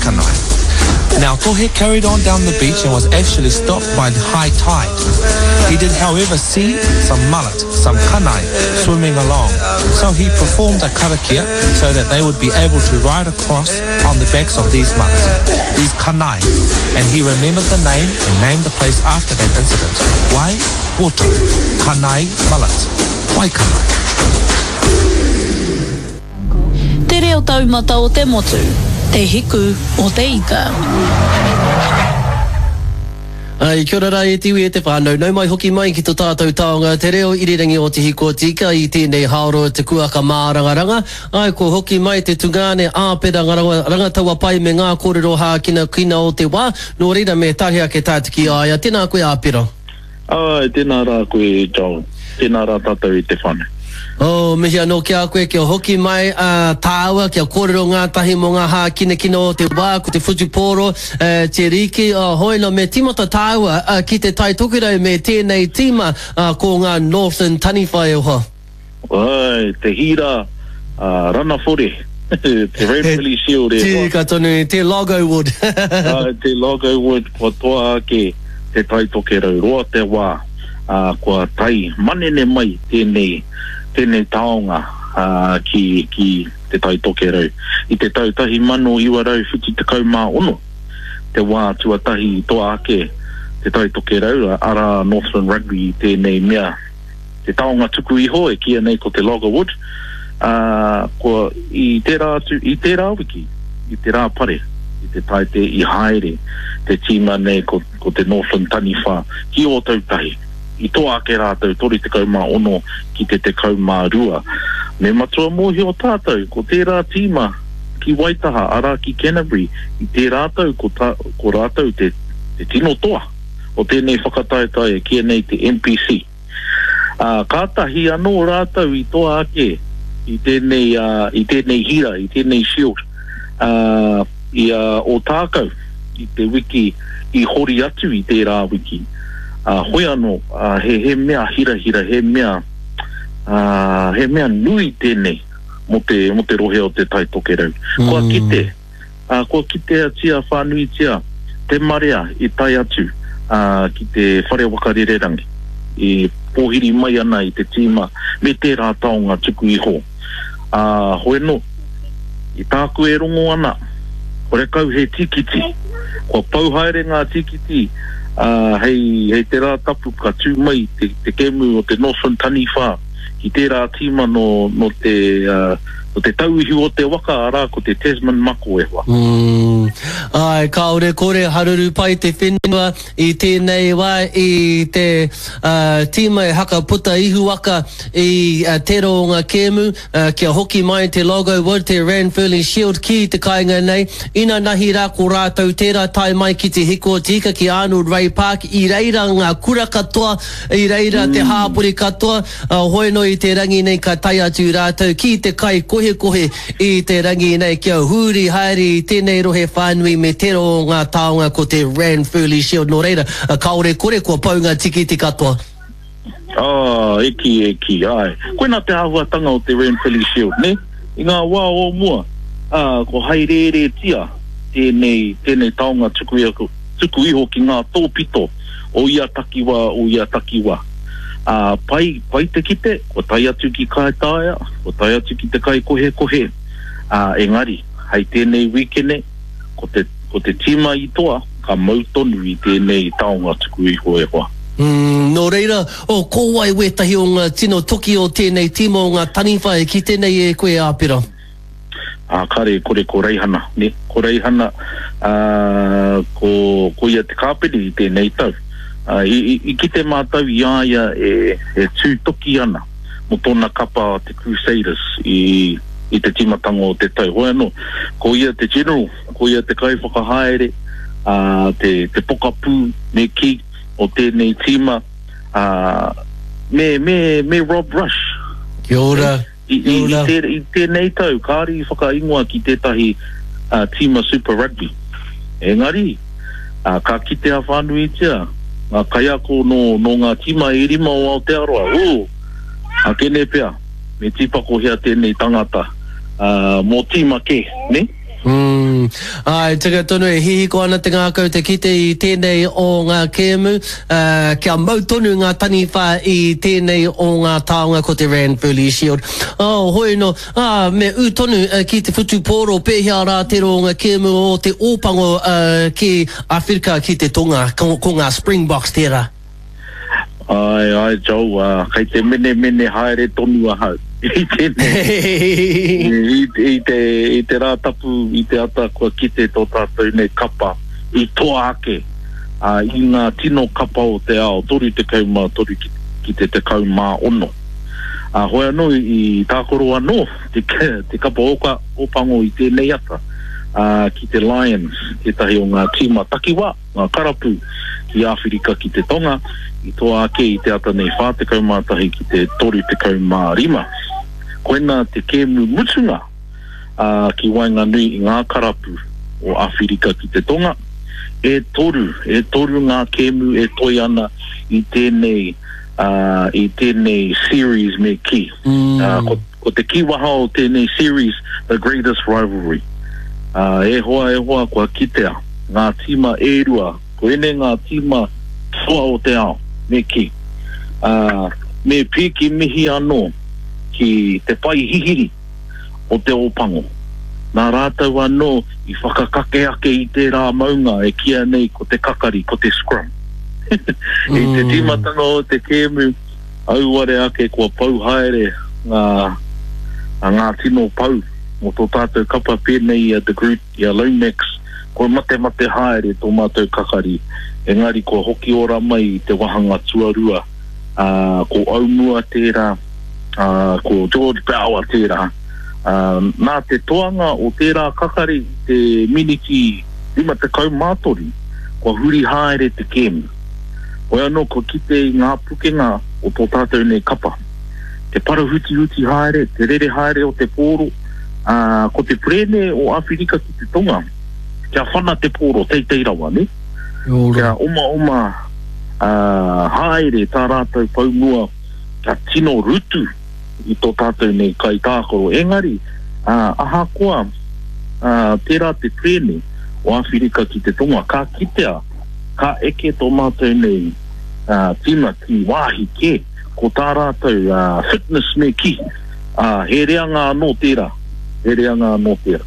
Waikanae. Now Tohe carried on down the beach and was actually stopped by the high tide. He did however see some mullet, some kanae, swimming along. So he performed a karakia so that they would be able to ride across on the backs of these mullet, these kanae. And he remembered the name and named the place after that incident. Wai Water, Kanae Mullet, Waikanae. Te reo taumata o te motu, te hiku o te ika. Ai, kia ora rā e te iwi e te whānau, nau mai hoki mai ki to tātou taonga te reo irirangi o Te Hiko-o-Tika i tēnei haoro te kuaka mārangaranga. Ai, kua hoki mai te tungāne Āpera Rangataua-pai me ngā kōrero hākinakina o te wā, nō reira me tahe ake tātou ki a ia. Tēnā koe Āpera. Āe, tēnā rā koe e Joel. Tēnā rā tātou e te whānau. Oh, mihi anō ki a koe kia hoki mai a tāua, kia kōrero ngātahi mō ngā hākinakina o te wā, ko te whutupōro, te rīki, oh, hoi nō, me tīmata tāua ki te Tai Tokerau me tēnei tīma, ko ngā Northern Taniwha e hoa. Āe, te hīra a Ranawhore, te Ranfurly Shield e hoa. Tika tonu, te Logowood. Āe, te Logowood, kua toa ake Te Tai Tokerau. Roa te wā, ā, kua tae manene mai tēnei, tēnei taonga, ā, ki, ki Te Tai Tokerau. I te tau 1976, te wā tuatahi i toa ake Te Tai Tokerau, arā, Northland Rugby i tēnei mea. te taonga tuku iho e kīia nei ko te loggerwood, ā, kua, i tērā atu, i tērā wiki, i te Rāpare, i te Taite i haere te tīma nei ko, ko te Northland Taniwha ki Ōtautahi. I toa ake rātou 36 ki te 12. Me matua mōhio tātou, ko tērā tīma ki Waitaha, arā ki Canterbury, i tērā tau ko, ta, ko rātou te, te tino toa. o tēnei whakataetae e kīia nei te NPC. Ā, kātahi anō rātou i toa ake i tēnei, ā, i tēnei hira, i tēnei shield, ā, i a Ōtākou i te wiki i hori atu i tērā wiki. Ā, hoi anō, ā, he, he mea hirahira, he mea, ā, he mea nui tēnei mō te, mō te rohe o Te Tai Tokerau. Kua kite, Ā, kua kiteatia whānuitia te marea i tae atu ki te whare waka rererangi, e pōhiri mai ana i te tīma me tērā taonga tuku iho. Ā, hoeno, i tāku e rongo ana, horekau he tīkiti. Kua pau haere ngā tīkiti, ā, hei, hei te Rā Tapu ka tū mai te, te kēmu o te Northland Taniwha ki tērā tīma nō, nō te, ā, Ko te tauihu o te waka, arā, ko te Tasman Mako e hoa. Umm. Āe, kāore kore haruru pai te whenua i tēnei wā i te tīma e haka puta ihuwaka i tera o ngā kēmu, kia hoki mai te Logo Wood, te Ranfurly Shield ki te kāinga nei. Inanahi rā ko rātou tērā tae mai ki te Hiko o te Ika ki Arnold Ray Park, i reira ngā kura katoa, i reira te hāpori katoa, Hoi no i te rangi nei ka tae atu rātou ki te kai kohekohe i te rangi nei kia huri haere i tenei rohe whānui me tera o ngā taonga ko te Ranfurly Shield no reira kaore kore kua pau ngā tikiti katoa. Oh, e kī, e kī, āe. Koinā te āhuatanga o te Ranfurly Shield, nē? I ngā wā o mua, ā, ko haerēretia tēnei, tēnei taonga tuku iho, tuku iho ki ngā tōpito o ia takiwā, o ia takiwā. Ā, pai, pai te kite, kua tae atu ki Kaitaia, kua tae atu ki te kaikohekohe, ā, engari, hei tēnei wīkene, ko te, ko te tīma i toa, ka mau tonu i tēnei taonga tuku iho e hoa. Mm, nō reira, oh, ko wai wētahi o ngā tino toki o tēnei tīma o ngā taniwha e kite nei e koe, Āpera? Ā, kāre e kore ko Reihana, nē, ko Reihana, ā, ko, ko ia te kāpene i tēnei tau. Ā, i, i, i kite mātou i a ia e, e tū toki ana mō tōna kapa te Crusaders i, i te tīmatanga o te tau. Hoi anō, ko ia te general, ko ia te kaiwhakahaere, ā, te, te pokapū, me kī, o tēnei tīma, ā, me, me, me Rob Rush. Kia ora. I, i, i, te, i tēnei tau, kāre i whakaingoa ki tētahi uh, tīma Super Rugby. Engari, uh, ka kitea whānuitia ngā kaiako nō, nō ngā tīma e rima o Aotearoa. Ū, akene pea, me tīpakohia tēnei tangata uh, mō tīma kē, ne? Mm. Āe, tika tonu e hihiko ana te ngākau te kite i tēnei o ngā kēmu, ā, kia mau tonu ngā taniwha i tēnei o ngā taonga ko te Ranfurly Shield. Oh, hoi no, ā, me ū tonu ki te whutupōro, pēhea rā te roanga kēmu o te Ōpango ki Awhirika ki te Tonga, ko, ko ngā Springboks tērā. Āe, āe Joel, ā, kei te menemene haere tonu ahau i tēnei, i, i te, i te rā tapu, i te ata kua kite tō tātou nei kapa i toa ake, ā, i ngā tino kapa o te ao, 33 ki, ki te 16. Ā, hoi anō i tākaro anō te, te kapa oka, Ōpango i tēnei ata, ā, ki te Lions, tētahi o ngā tīma takiwā. ngā karapu ki Āwhirika ki te Tonga, i toa ake i te ata nei 41 ki te 35. Koina te kēmu mutunga ki waenganui i ngā karapu o Āwhirika ki te Tonga. E toru, e toru ngā kēmu e toe ana i tēnei, i tēnei series me kī. Ko. Ko te kīwaha o tēnei series, The Greatest Rivalry. Ā, e hoa, e hoa, kua kitea ngā tīma e rua, ko ēnei ngā tīma toa o te ao, me kī. Ā, me pīki mihi anō ki te pae hihiri o Te Ōpango. Nā rātou anō i whakakake ake i tērā maunga e kīia nei ko te kakari, ko te scrum. I te tīmatanga o te kēmu, Auare ake kua pau haere ngā ngā tino pau o tō tātou kapa pēnei i a De Groot, i a Lomax, kua matemate haere tō mātou kakari, engari kua hoki ora mai i te wahanga tuarua, ā, ko Aumua tērā, ā, ko George Bower tērā. Ā, nā te toanga o tērā kakari i te miniti 53, kua huri haere te kēmu. Hoi anō kua kite i ngā pukenga o tō tātou nei kapa. Te parahutihuti haere, te rere haere o te pōro, ā, ko te perēne o Āwhirika ki te Tonga, kia whana te pōro teitei rawa, nē? Kia omaoma, ā, haere tā rātou pou mua, kia tino rutu i tō tātou nei kaitākaro. Engari, ā, ahakoa, ā, tērā te perēne o Āwhirika ki te Tonga, ka kitea, Ka eke tō mātou nei tīma ki wāhi kē, ko tā rātou fitness me kī, ā, he reanga anō tērā, he reanga anō tērā.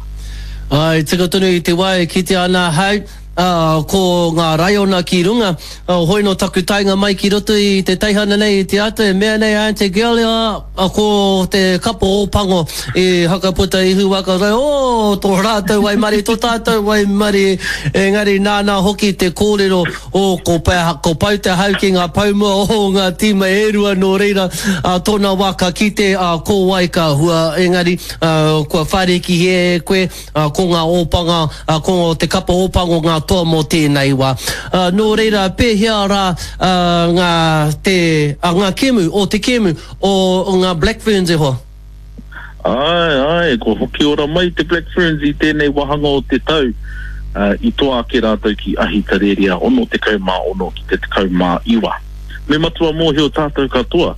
Ā, i tika tonu i te wā e kitea ana ahau, ā, ko ngā raiona ki runga, ā, hoi nō taku taenga mai ki roto i te teihana nei i te ata e mea nei a Aunty Girlie, ā, ko te kapo Ōpango i hakaputa ihu waka rau, oh, tō rātou waimarie, tō tātou waimarie, engari nāna hoki te kōrero, oh, ko, ko pau te hau ki ngā poumua o ngā tīma e rua, nō reira, ā tōna wā ka kite, ā, ko wai ka hua, engari, ā, kua whārikihia e koe, ā, ko ngā ōpanga, ā, ko te kapa Ōpango ngā toa mō tēnei wā. Ā, nō reira, pēhea rā, ā, ngā, te, ā, ngā kēmu, o te kēmu o ngā Black Ferns e hoa? Āe, āe, kua hoki ora mai te Black Ferns i tēnei wāhanga o te tau, ā, i toa ake rātou ki Ahitereiria 66 ki te 19. Me matua mōhio tātou katoa,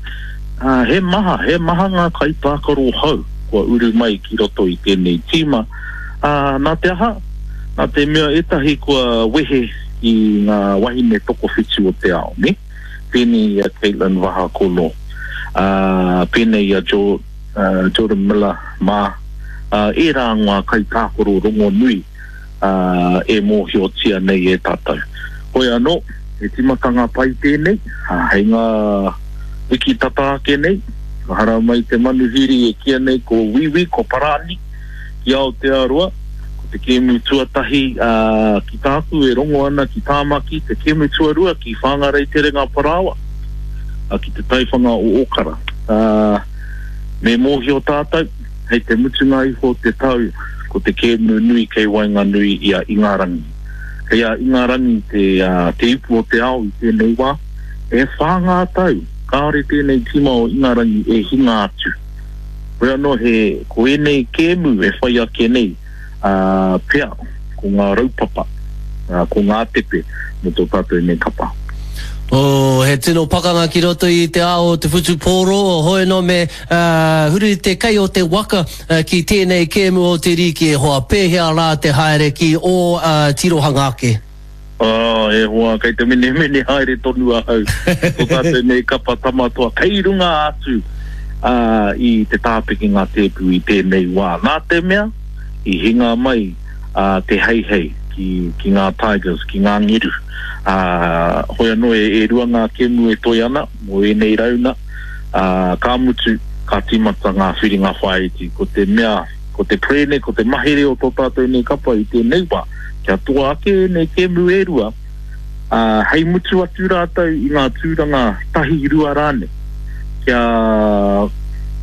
ā, he maha, he maha ngā kaitākaro hou kua uru mai ki roto i tēnei tīma, ā, nā te aha? Nā te mea ētahi kua wehe i ngā wahine tokowhitu o te ao, nē? Pēnei i a Katelyn Vahaakolo, ā, pēnei i a Jo, ā, Jordan Miller mā, ā, ērā ngā kaitākaro rongonui ā, e mōhiotia nei e tātou. Hoi anō, he tīmatanga pai tēnei, ā, hei ngā wiki tata ake nei, ka haramai te manuhiri e kīia nei ko Wīwī, ko Parani, ki Aotearoa. Ko te kēmu tuatahi, ā, ki tāku e rongo ana ki Tāmaki, te kēmu tuarua ki Whāngarei Terenga Parāoa, ā, ki te taiwhanga o Ōkara. Ā, me mōhio tātou, Hei te mutunga iho o te tau, ko te kēmu nui kei waenganui i a Ingarangi. Kei a Ingarangi te, te ipu o te ao i tēnei wā. E whā ngā tau, kāore tēnei tīma o Ingarangi e hinga atu. Hoi anō he, ko ēnei kēmu e whai ake nei, ā, pea, ko ngā raupapa, ā, ko ngā tepe mō tō tātou nei kapa. Oh, he tino pakanga ki roto i te ao o te whutupōro, hoi anō me huri te kei o te waka ki tēnei kēmu o te rīki e hoa, pēhea rā te haere ki ō tirohanga ake? Oh, e hoa, kei te menemene haere tonu ahau. Ko tātou nei kapa tamatoa kei runga atu i te tāpekenga tēpu i tēnei wā. Nā te mea, i hinga mai te heihei ki, ki ngā Tigers, ki ngā ngeru. Ā, hoi anō e, e rua ngā kēmu e toe ana mō ēnei rauna, ā, ka mutu, ka tīmata ngā whiringa whāiti. Ko te mea, ko te perēne, ko te mahere o tō tātou nei kapa i tēnei wā, kia toa ake ēnei kēmu e rua, ā, hei mutu atu rātou i ngā tūranga tahi, rua rānei, kia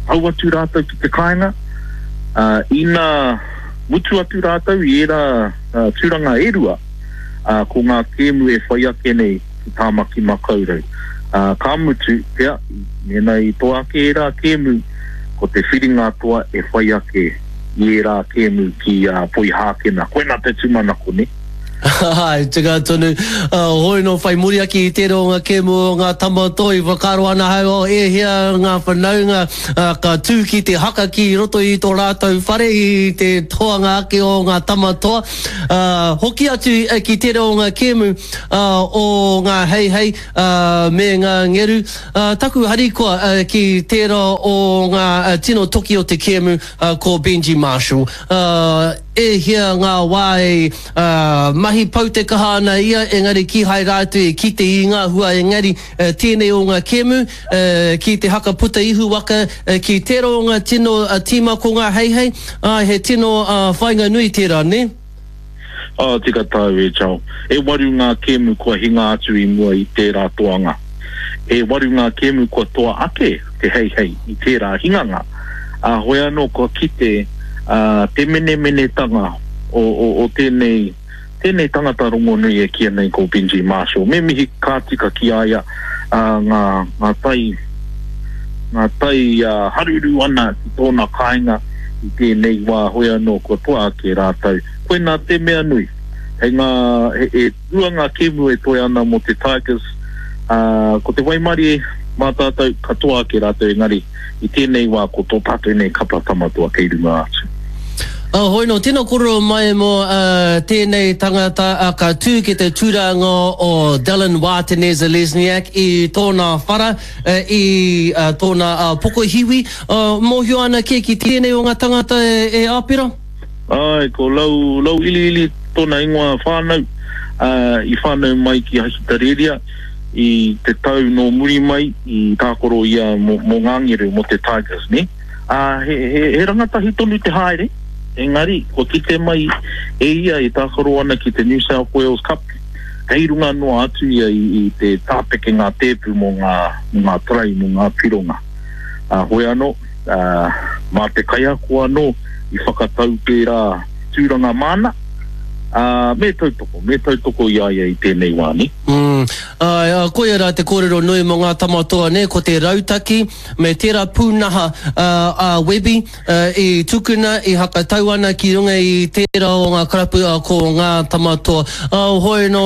tau atu rātou ki te kāinga, ā, ina mutu atu rātou i ērā tūranga e rua, ā, ko ngā kēmu e whai ake nei ki Tāmaki Makaurau. Ā, ka mutu, pea, mēnā i toa ake ērā kēmu, ko te whiringa toa e whai ake i ērā kēmu ki Poihākena. Koinā te tūmanako, nē? Āe, tika tonu. Hoi nō whai muri ake i tērā o ngā kēmu o ngā tama toi, whakaaro ana ahau, oh, e hia ngā whanaunga ka tū ki te haka ki roto i tō rātou whare i te toanga ake o ngā tama toa. Hoki atu ki tērā o ngā kēmu o ngā heihei me ngā ngeru. Taku harikoa ki tērā o ngā tino toki o te kēmu ko Benji Marshall. E hia ngā wā e mahi pau te kaha ana ia engari kīhai rātou e kite i ngā hua engari tēnei o ngā kēmu ki te haka puta ihu waka ki tērā o ngā tino tīma ko ngā heihei, āe he tino whainga nui tērā, nē? Oh, tika tāu e Joel. E waru ngā kēmu kua hinga atu i mua i tērā toanga. E waru ngā kēmu kua toa ake te heihei i tērā hinganga. Ā, hoi anō kua kite te menemenetanga o, o, o tēnei, tēnei tangata rongonui e kīia nei ko Benji Marshall. Me mihi ka tika ki a ia, ā, ngā, ngā tai, ngā tai haruru ana ki tōna kāinga i tēnei wā, hoi anō kua toa ake rātou. Koinā te mea nui. Hei ngā, he, e rua ngā kēmu e toe ana mō te Tigers, ā, ko te waimarie mā tātou, ka toa ake rātou engari i tēnei wā ko tō tātou nei kapa tamatoa kei runga atu. Hoi nō, tino kōrero mai mō tēnei tangata ka tū ki te tūranga o Dallin Wātene-Zelezniak i tōna whara, i tōna pokohiwi. Mōhio ana kē ki tēnei o ngā tangata e Āpera? Āe, ko Lau, Lau Iliili tōna ingoa whānau, i whānau mai ki Ahitereiria i te tau nō muri mai i tākaro ia mō ngā ngeru, mō te Tigers, nē? Ā, he, he, he rangatahi tonu te haere, engari, kua kite mai e ia e tākaro ana ki te New South Wales Cup, kei runga noa atu ia i, i te tāpekenga tēpu mō ngā, mō ngā tarai, mō ngā pironga. Ā, hoi anō, ā, mā te kaiako anō i whakatau tērā tūranga māna, ā, me tautoko, me tautoko i a ia i tēnei wā, nē? Mm, āe, ā, koia rā te kōrero nui mō ngā tama toa, nē, ko te rautaki, Me tērā pūnaha a Webby i tukuna, i hakatau ana ki runga i tērā o ngā karapu ko Ngā Tamatoa. Hoi nō,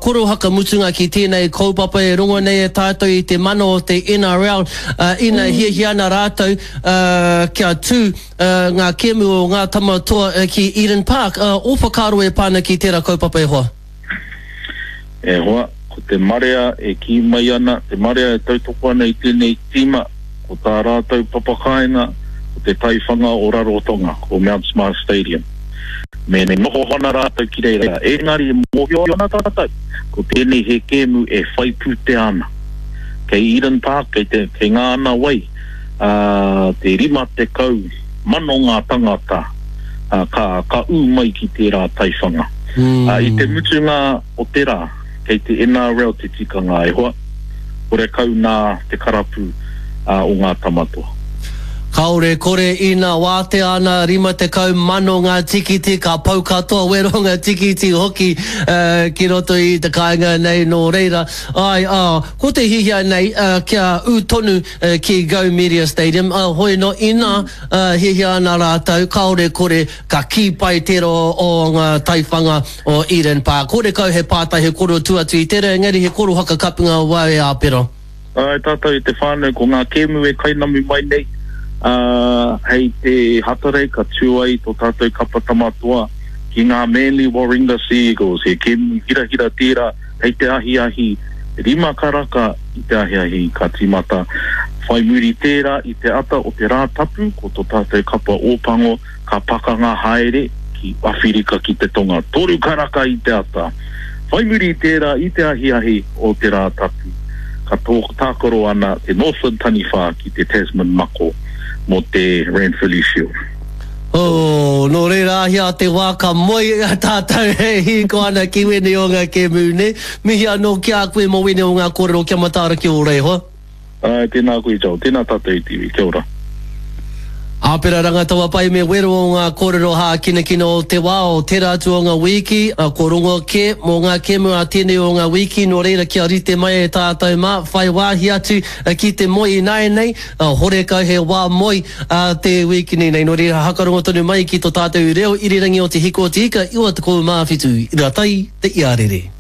koro hakamutunga ki tēnei kaupapa e rongo nei e tātou i te mana o te NRL ina hiahia ana rātou kia tū ngā kēmu o Ngā Tamatoa ki Eden Park. Ō whakaaro e pā ana ki tērā kaupapa e hoa? E hoa, ko te marea e kī mai ana, te marea e tautoko ana i tēnei tīma, ko tā rātou papakāinga, ko te taiwhanga o Rarotonga, ko Mount Smart Stadium. Me noho ana rātou ki reira, engari e mōhio ana tātou, ko tēnei he kēmu e whai pūtea ana. Kei Eden Park, kei te, kei ngā ana wai, ā, te 50 mano ngā tangata, ā, ka, ka ū mai ki tērā taiwhanga. Ā, i te mutunga o te rā, kei te NRL te tikanga e hoa, horekau nā te karapu, ā, o ngā tamatoa. Kāore kore ina wātea ana 50,000 ngā tikiti ka pau katoa wero ngā tikiti hoki ki roto i te kāinga nei nō reira āe ā ko te hihia nei kia ū tonu ki Go Media Stadium ā hoi nō ina hihia ana rātou kāore kore ka kī pai tērā o ngā taiwhanga o Eden Park. Horekau he pātai he koro tua atu i tērā engari he koro whakakapinga wau e Āpera. Āe tātou i te whānau, ko ngā kēmu e kainamu mai nei, ā, hei te Hatarei ka tū ai tō tātou kapa Tama Toa ki ngā Manly Warringah Sea Eagles. He kēmu hirahira tērā hei te ahiahi, rima karaka i te ahiahi ka tīmata. Whai muri tērā i te ata o te Rātapu ko tō tātou kapa Ōpango ka pakanga haere ki Awhirika ki te Tonga, toru karaka i te ata. Whai muri i tērā, i te ahiahi o te Rātapu, ka tākaro ana te Northland Taniwha ki te Tasman Mako mō te Ranfurly Shield. Oh, nō reira ahia te wā ka moe a tātou e hīko ana ki wēnei o ngā kēmu, nē? Mihi anō ki a koe mō wēnei o ngā kōrero kia mataara ki ō reihoa. Āe, tēnā koe Joel, tēnā tātou i te iwi, kia ora. Āpera Rangataua Pai me wero o ngā kōrero hākinakina o te wā o tērā atu o ngā wīki, ko rongo kē mō ngā kēmu a tēnei o ngā wīki, nō reira kia rite mai e tātou mā, whai wāhi atu ki te moe ināianei, horekau he wā moe a te wīkini nei, nō reira hakarongo tonu mai ki to tātou reo irirangi o Te Hiko o Te Ika 97 ira tai te iarere.